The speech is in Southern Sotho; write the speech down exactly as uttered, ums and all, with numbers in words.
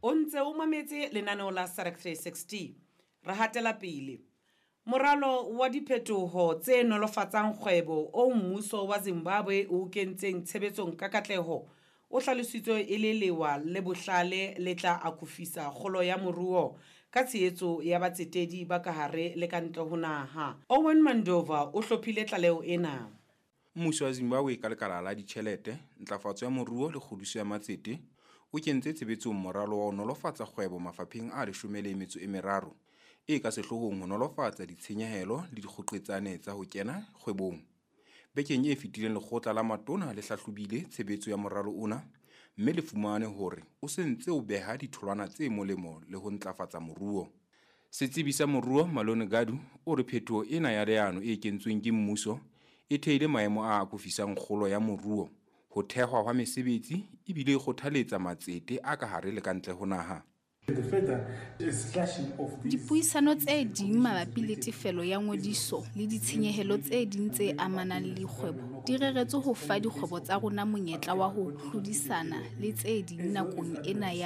O ntse o mametse lenaneo la SADC three sixty. Re hatela pele. Moralo wa diphetoho tse nolofatsang kgwebo o mmuso wa Zimbabwe o kentseng tshebetsong ka katleho o hlalositswe e le lewa le bohlale le tla akofisa kgolo ya moruo ka tshehetso ya batsetedi ba ka hare le ka ntle ho naha. Owen Mandova o hlophile tlaleho ena. Mmuso wa Zimbabwe ka lekala la ditjhelete, ntlafatso ya moruo le kgodiso ya matsete o kentse tshebetsong moralo wa ho nolofatsa kgwebo mafapheng a leshome le metso e meraro e ka sehloohong ho nolofatsa ditshenyehelo le dikgoqetsane tsa ho kena kgwebong. Bekeng e fetileng lekgotla la matona le hlahlobile tshebetso ya moralo ona mme le fumane hore o se ntse o beha ditholwana tse molemo le ho ntlafatsa moruo. Setsebi sa moruo Malone Gadu o re phetoho ena ya leano e kentsweng ke mmuso e theile maemo a akofisang kgolo ya moruo, ho thehwa hwa mesebetsi ebile e kgothaletsa matsete a ka hare le ka ntle ho naha. Dipuisano tse ding mabapi le tefelo ya ngodiso le ditshenyehelo tse ding tse amanang le kgwebo di reretswe ho fa dikgwebo tsa rona monyetla wa ho hlodisana le tse ding nakong ena ya